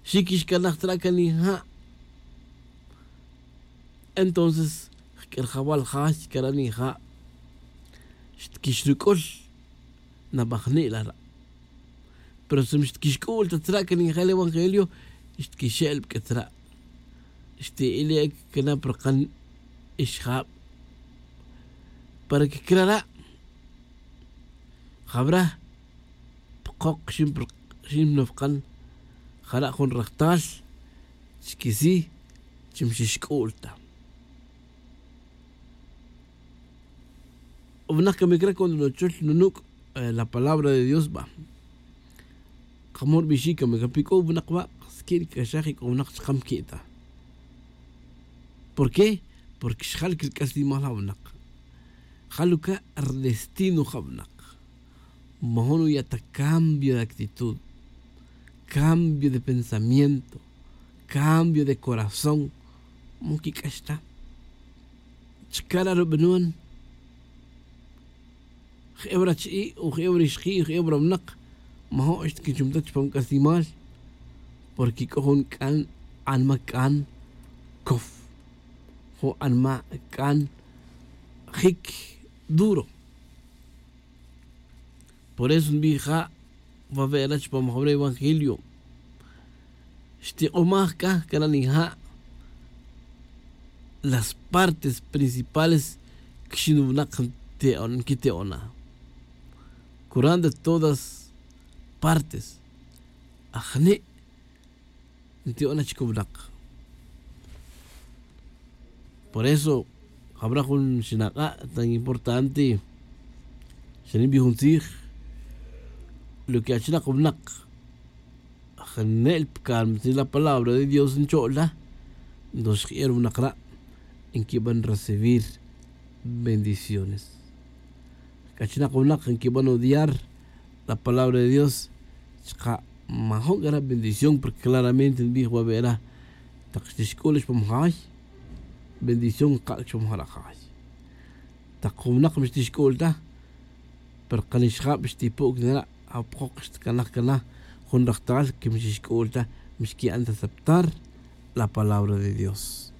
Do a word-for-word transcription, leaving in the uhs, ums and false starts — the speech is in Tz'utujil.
Xi quixcanaj tzra' can ija'. Entonces jq'uerjawal ja xquera' nija'. Xtquixruc'ul nabajni' lara'. Pero si xtquixc'ul ta tzra' can ija' el evangelio xtquixe'el pq'ue tzra'. Xti'ile' cana' purkan ixjab. Para que crara' jabra pkok xin pnofkan. Jara' jun rajtal chquisi chi mxixc'ul ta. Wnak camic ra cuando nuchul nunuc' la palabra de dios ba. Kamo rbixi' camic ra pi c'o wnak wa' squi'n caxaj y c'o wnak chkam qui' ta. ¿Por qué? Porque xjal quirc'aslimal ja wnak. Jal uca' rdestino ja wnak. Majun uya' ta cambio de actitud, cambio de pensamiento, cambio de corazón. Mu quic'ax ta chca ra rubanon. Je'ew rachi'i' o je'ew rixki' o je'ew rawnak majo' xtiquichum ta chupam c'aslimal. Porque c'o jun c'an anma c'an cof jun anma c'an jic duro. Por eso nbij ja' wawe'ra chupam jawre evangelio. Xtik'omaj c'a cana' nija' las partes principales quixin winak nquite'ona. Curan de todas partes ajni' nti'ona chic winak. Por eso jabra jun xinak'a' tan importante. Xanin bi jun tzij lo que achinak winak jnel pcalma tzij la palabra de dios ncho'la. Nto xji'er winak ra' nquiban recibir bendiciones. C'achinak winak nquiban odiar la palabra de dios. Chka' majo' c'a ra bendición porque claramente nbij wawe'ra tak xtixc'ul chupam jay bendición kak' chupam jara' jay. Tak jun winak mixtixc'ul ta pero kan ixjab xtipu' cana ra' apjok xtcanaj cana jun rajtal que mixixc'ul ta mixqui'an ta aceptar la palabra de dios.